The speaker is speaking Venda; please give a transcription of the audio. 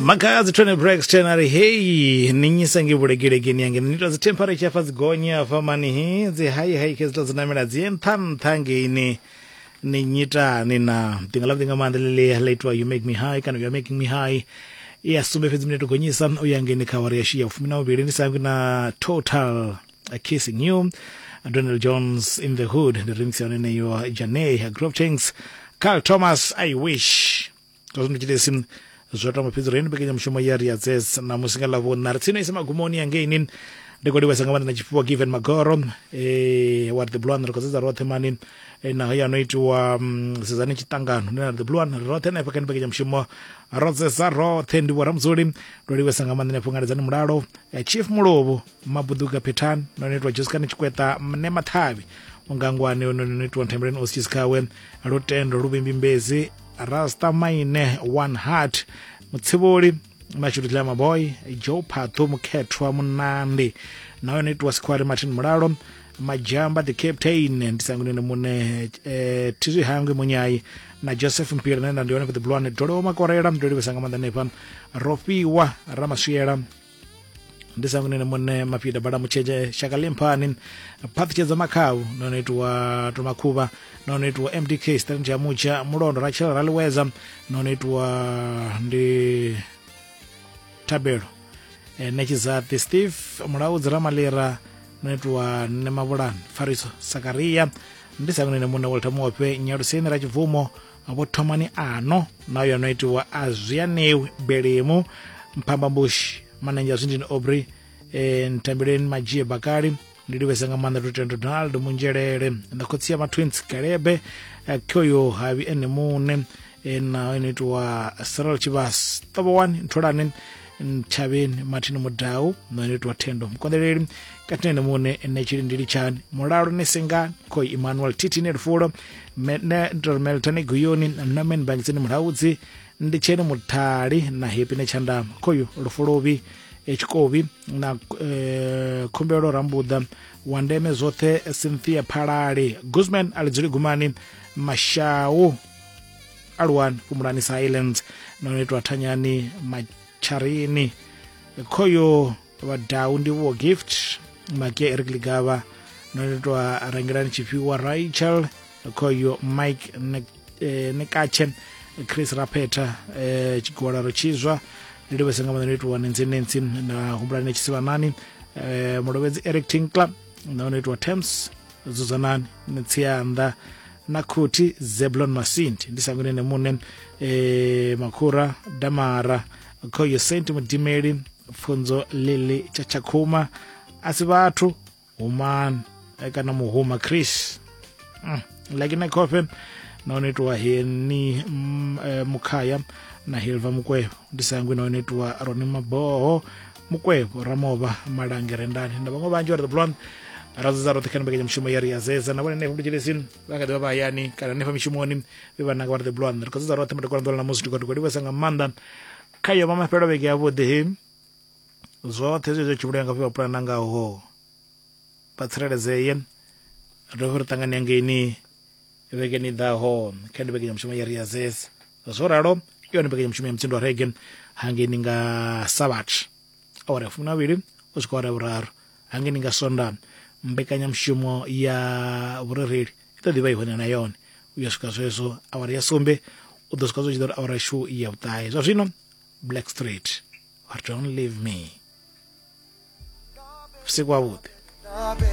Makhadzi Tony Braxton a ri hei ni nyisa nge vhulegelekeni yange ni ita dzi temperature afha dzi gonya afha mani hi dzi hai hai khe dzi namela dzi ye nṱha nṱha ngeini ni nyitani na ḓinga ḽa vhuḓi nga maanḓa ḽi ḽa itiwa you make me high kana you are making me high ya sumbe fhedzi minete gonyisa u ya ngeini kha awara yashu ya fumi na vhuvhili ndi sangwi na total kissing you Donald Jones in the hood ndi remix ya hone yeneyo Janae Grove Tanks Carl Thomas I wish zwa zwino tshitesi zwo tamba fhedzi ri mbekanyamushumo ya ri dzes na musi nga ḽavhuṋa ri tsini isa magumoni ya ngeini ndi khou livhesa nga maanḓa na tshifhiwa given magoro eh wa the blue one ri khou sedza roṱhe mani eh, naho ya no itiwa mm, sedzani tshiṱangano ndi na the blue one roṱhe hanefha kha mbekanyamushumo ro dzesa roṱhe ndi vho ramudzuli ndo livhesa nga maanḓa hanefho ngaledzani mulalo eh, chief mulovhu mabuduka phethani no no itiwa joscan tshikweta mne mathavhi ungangwane no no itiwa nthembeleni ostis khawe lutendo luvhimbimbezi rasta maine one heart mutsivholi mashudu tlama maboy joe phathu mukhethwa munandi na yone itiwa sikhwari martin mulalo majamba the captain ndi sangunene mune eh, thizwi hangwi munyai na joseph mpira nenda ndi yone for the blue one dolowo makorela ndo livhesa nga maanḓa hanefha rofhiwa ramaswiela ndi sangunene mune mafhida bala mutshetshe shaka limphani phaṱhutshedzo makhau no no itiwa tomakhuvha no no itiwa mdk strength ya mutsha mulondo rachel raliwedza no no itiwa ndi thabelo e, netshizathi steve mulaudzi ramalira no itiwa nemavhulani fariso sakaria ndi sangunene mune walter muofhe nyaluseni ra tshibvumo vho thomani ano na yo no itiwa a zwianewi belemu mphambambushi manenzhe a zwindini aubrey e, ntambeleni madzhie bakali ndi livhesa nga maanḓa lutendo donald munzhelele na khotsi ya matwins kalebe eh, khoyo havi ene muṋe eh, na ino itiwa cyril tshivhas ṱovhowani ntholani ntshavheni martin mudau na ino itiwa thendo mukonḓeleli kati na ene muṋe ene tshilindili tshani mulalo ne sengani khoyi emmanuel titi ne lufulo meltane guyoni norman bangiseni mulaudzi ndi tsheni muthali na happy ne tshandama khoyu lufulovhi tshikovi na eh, khumbelo rambuḓa wa ndeme zwoṱhe cynthia phalali guzman a lidzuli gumani mashau aluwani fhumulani silence no no itwa thanyani matsharini khoyo vhadau ndivhuwo gift makia eric ligavha no no itwa rangelani tshifhiwa rachel khoyo mike nekatshe chris rapeta eh, tshigwalaro tshizwa ndi livhese nga maanḓa no itiwa nensi nensi na humbulani netshisivhanani eh, mulovhedzi eric tinkler na no itiwa thames dzudzanani netsianda na khuthi zeblon masindi ndi sangunene mune eh, makhura damara khoyo saint mudimeli pfunzo lili chachakhuma asi vhathu humani eh, kana muhuma chris like na coffin na one itiwa heni eh, mukhaya na hilva mukwevho ndi sangwi na one itiwa roni maboho mukwevho ramovha malange rendani na vhaṅwe vhanzhi vha ri the blonde ra dzudza roṱhe kha mbekanyamushumo ya ri zeza na vhone hanefha mutshilesini vha nga ḓi vha vha hayani kana hanefha mishumoni vhe vha nanga vha ri the blonde ri khou dzudza roṱhe madekwana ḓuvha ḽa ṋamusi ndi khou livhesa nga maanḓa kha yo vha mafhelo vhege yavhuḓi he zwoṱhe zwe zwa tshivhulaya nga vha pulana ngaho vha tsireledzee ri dovhe ri ṱangane hangeini vhegeni i ḓaho kha ndi mbekanyamushumo ya riazes zwo ralo i yone mbekanyamushumo ya mutsindo wa rege hangeini nga sabat awara ya fumi na vhili u swika awara ya vhuraru hangeini nga sonda mbekanyamushumo ya vhurereli i ḓo ḓivha i hone na yone u ya swika zwezwo awara ya sumbe u ḓo swika zwo tshi ḓo uri awara yashu ya vhuṱahe zwa zwino black street or don't leave me vhusiku havhuḓi.